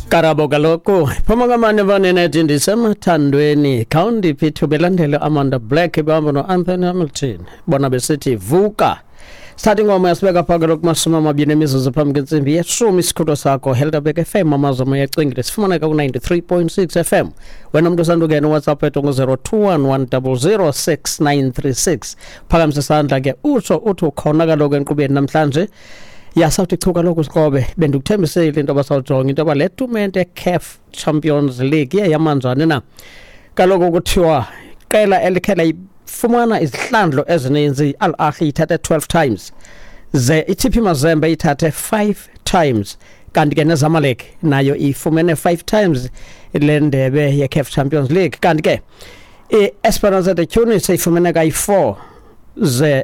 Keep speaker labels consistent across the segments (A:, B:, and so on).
A: Karabo kaloku phuma kamane banenethi ndisemathandweni khawundiphi ithuba elandele Amanda Black behamba no-Anthony Hamilton bona besithi vuka. Sithatha ingoma yasibeka phaa kaloku 20 emizuzu phambi kwentsimbi yeshumi. Isikhutho sakho Helderberg FM, amazwi amoya ecingile, sifumaneka ku-93.6 FM. Wena mntu usandukena, uWhatsApp ethu ngu-021 100 6936. Phakamisa isandla ke utsho uthi ukhona kaloku enkqubeni namhlanje. Yasawuthi chu kaloku sikrobe, bendikuthembisile into yoba sawujonga into yoba le tumente CAF Champions League iye yamanjani na. Kaloku kuthiwa qela elikhe layifumana izihlandlo ezininzi, Al Ahly ithathe 12 times, ze iTP Mazembe ithathe 5 times, kanti ke neZamalek nayo ifumene 5 times le ndebe ye-CAF Champions League. Kanti ke i-Esperance de Tunis ifumene kayi-4, ze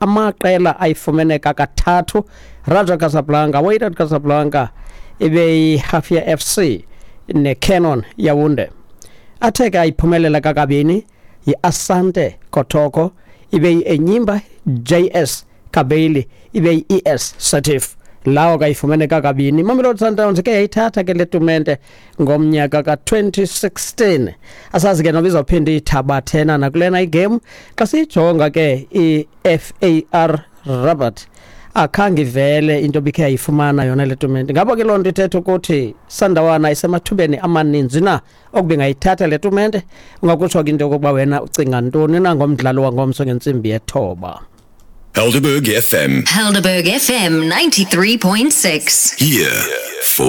A: amaqela ayifumene kakathathu Raja Casablanca, Wydad Casablanca, ibe yi-Hafia FC neCanon Yaounde. Athe ke ayiphumelela kakabini yi-Asante Kotoko, ibe yi-Enyimba, JS Kabylie, ibe yi-ES Setif. Lawo kayifumene kakabini. Mamelodi Sundowns ke yayithatha ke le tumente ngomnyaka ka-2016. Asazi ke noba izawuphinda iyithabathena nakulena igame. Xa siyijonga ke i-FAR Rabat, akhange ivele into bikhe yayifumana yona le tumente. Ngaba ke loo nto ithetha ukuthi Sandawana isemathubeni amaninzi na okuba ingayithatha le tumente? Ungakutsho ke into yokokuba wena ucinga ntoni na ngomdlalo wangomso ngentsimbi yethoba.
B: Helderberg FM.
C: Helderberg FM 93.6.
B: Here for